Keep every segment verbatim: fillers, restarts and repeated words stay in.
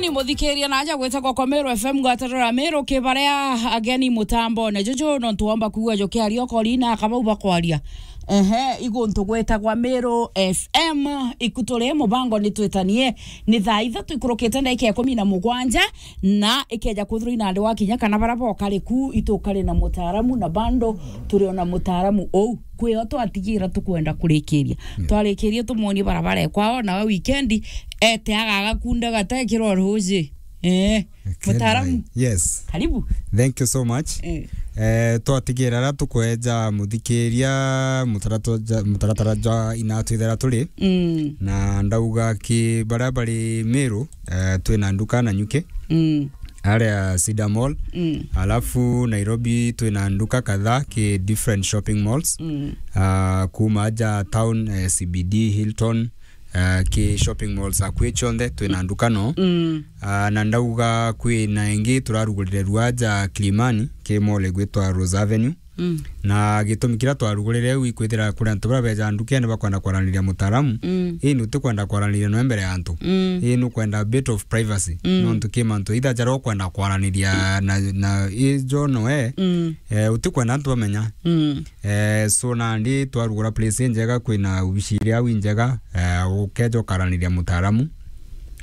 Ni muthikiria na aja gwitagwa kwa Meru F M ngwataniro ya Meru kibaria ageni mutambone. Juju no ntuomba kuigua jukiaria okori na akabau bakwaria. Ehe, iguntu gwitagwa Meru F M, ikuturi mubango ni twitanie. Ni thaa ithatu ikurukite ndagika ikumi na mugwanja, na ikeja kwithirwa ina andu wakinya kana bara bokari ku itukari na mutaaramu na bando turi ona mutaaramu ou. Kwio twatigira tukwenda kurikiria. Mm. Twarikirie tumwonie barabara ekwao, nawe weekend ete agagakunda gatekirwa ruji. Eh, mutaaramu. Yes. Karibu. Thank you so much. Eh. Eh, twatigira ara tukweja muthikiria mutaratara ja, mutaratara ja ina twithera turi. Mm. Na ndauga ki baria bari Meru, eh, twina nduka Nanyuki. Mm. Aria Cedar Mall. Mm. Alafu Nairobi twina nduka kadhaa ki different shopping malls. Mm. Ah, kuma aja town, eh, C B D, Hilton, eh, ki shopping malls akui chonthe twina nduka no. Mm. Ah, na ndauga kwina ingi turarugurire rua aja Kilimani ki mall igwitwa Rose Avenue. Mm. Na gitumi kiria twarugurire u ikwithira kuri antu baria beja ndukene bakwenda kwaraniria mutaaramu. Mm. Ii ni utikwenda kwaraniria noe mbere ya antu. Mm. Ii ni ukwenda a bit of privacy. Mm. Nontu ki mantu either jaria ukwenda kwaraniria na, na ijo noe, mm, eh, utikwenda antu bamenya. Mm. Eh, so nandi twarugura place injega, kwina ubici iria au injega, eh, ukeja ukaraniria mutaaramu.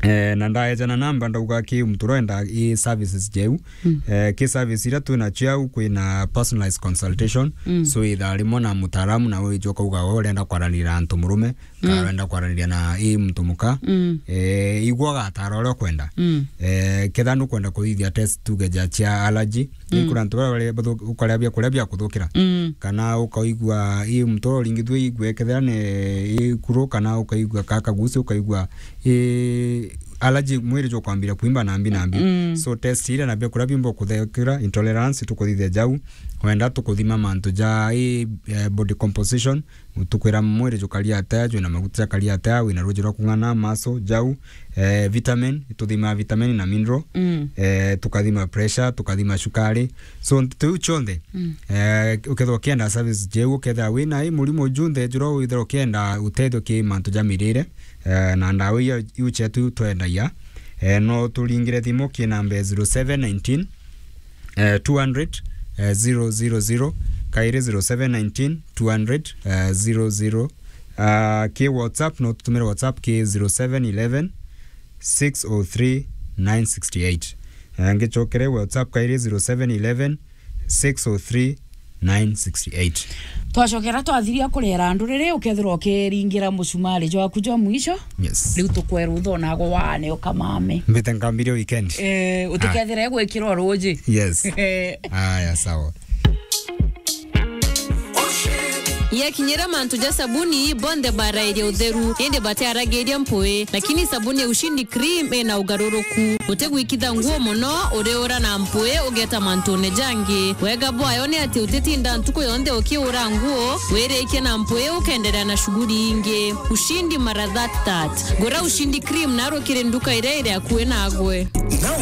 Eh, na ndaeja na namba ndauga ki muntu urenda i services jeu. Mm. Eh, ki service iria twinacio au kwina personalized consultation. Mm. So ithaa rimwe na mutaaramu na wiji ukauga we urenda kwaranira na antu murume, kana, mm, urenda kwaranira na i muntu muka. Mm. Eh, igua gatara uria ukwenda. Mm. Eh, ketha nukwenda kuthithia test tuge ja cia allergy. Mm. Ni kuri antu baria bari bathu-, ukaria biakuria bia kuthukira. Mm. Kana ukaigua i muntu uria uringithue igwe kethira ni ikuru, kana ukaigua ka kaguci, ukaigua i allergy mwiri jukwambira kuimba nambi nambi. Mm. So test iria na biakuria bimba kuthukira, intolerance, tukuthithia jau. Wenda tukuthima mantu ja i, eh, body composition, tukwira mwiri jukaria atia, jwina maguta jakaria atia, wina ruji rwa kung'ana, maso, jau, eh, vitamin, ituthimaa vitamin na mineral, mm, eh, tukathima pressure, tukathima cukari. So, nteto iu cionthe, mm, eh, ukethirwa ukienda service jeu, ukethira wina i murimo junthe juria withirwa ukienda utethio ki mantu ja mirire, eh, na ndawa iu, iu cietu twendagia, eh, no turingire thimu ki namba ya zero seven nineteen, eh, two hundred, eh, zero zero zero, kairi zero seven nineteen, two hundred, eh, zero zero. Ah, ki WhatsApp, no tutumire WhatsApp ki zero seven eleven, six oh three, nine sixty eight. Eh, ngicokere WhatsApp kairi zero seven eleven, six oh three, nine sixty eight. Twacokera twathiria kurera andu riri, ukethirwa ukiringira mucumari jwaku jwa mwisho. Yes. Riu tukwerutha onago wane ukamame. Mbite nkambirie weekend. Eh, utikethire gwikirwa ruji. Yes. Aya, sawa. Yakinyira mantu ja sabuni, bonthe barairie utheru, indi batiaragiria mpui, lakini sabuni ya Ushindi Cream ina ugaruruku. Utigwikitha nguo mono, uriura na mpui, ugeta mantune jangi. Wega bwayo ni ati utitinda ntuku yonthe ukiura nguo, wirikie na mpui, ukenderea na shughuli ingi. Ushindi mara that that. Gura Ushindi Cream na rukiri nduka iria iri akui nagwe. Na